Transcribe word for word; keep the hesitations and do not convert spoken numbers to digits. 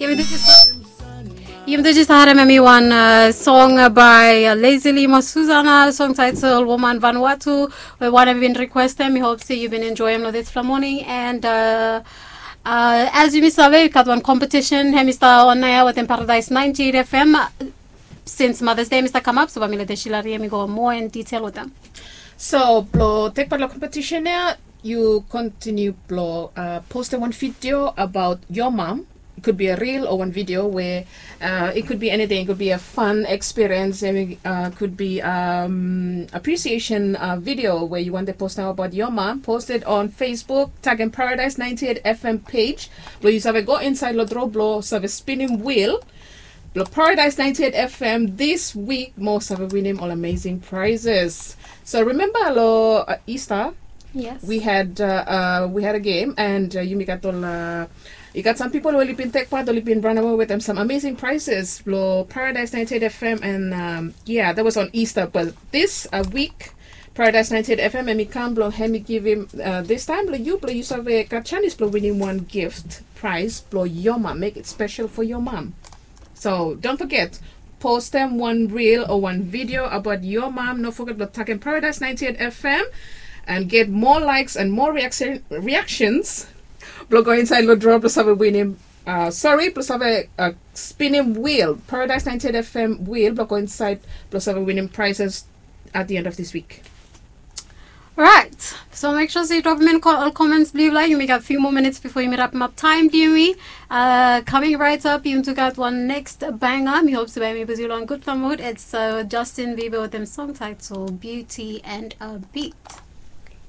Yumi tu jis harem hemi wan song by Lazily mo Susana, song title Woman Vanuatu, we wan hemi bin requestem. Mi hope se yu bin enjoyem lo dispela moning. And as yumi save, yu gat wan competition hemi stap on air wetem Paradise ninety-eight F M. Since Mother's Day hemi stap kamap, so bae mi lete Sheila Rie hemi go moa in detail wetem. So blo tek pat lo competition ya, yu kontiniu blo postem wan video about your mom. It could be a reel or one video where uh, it could be anything. It could be a fun experience, and it uh, could be um, appreciation uh, video where you want to post now about your mom. Post it on Facebook, Tag and Paradise ninety-eight F M page. Blo yu save go inside lo draw blo save spinning wheel blo Paradise ninety-eight F M this week, mo save winim all amazing prizes. So remember lo uh, Easter, Yes. we had uh, uh, we had a game, and uh, yumi gat ol uh, i gat some people who oli bin tek part, oli bin run away with them some amazing prizes blo Paradise ninety-eight F M, and um, yeah, that was on Easter. But this uh, week, Paradise ninety-eight F M hemi kam blo hemi givim uh, this time blo yu, blo yu save gat chance blo winim one gift prize blo your mom. Make it special for your mom. So don't forget, post them one reel or one video about your mom. No forget blo Tag and Paradise ninety-eight F M and get more likes and more reaction, reactions. Blo go inside lo draw blo save winim. Uh, sorry, blo save uh, spinning wheel, Paradise ninety-eight F M wheel, blo go inside blo save winim prizes at the end of this week. Right. So make sure se yu drop in all comments blo yu. Like, yumi gat few more minutes before yumi wrap up time, blo yumi. Uh, coming right up, yumi tu gat one next banger. Mi hope se bae mi put yu lo gud mood. It's uh, Justin Bieber with him song title Beauty and a Beat.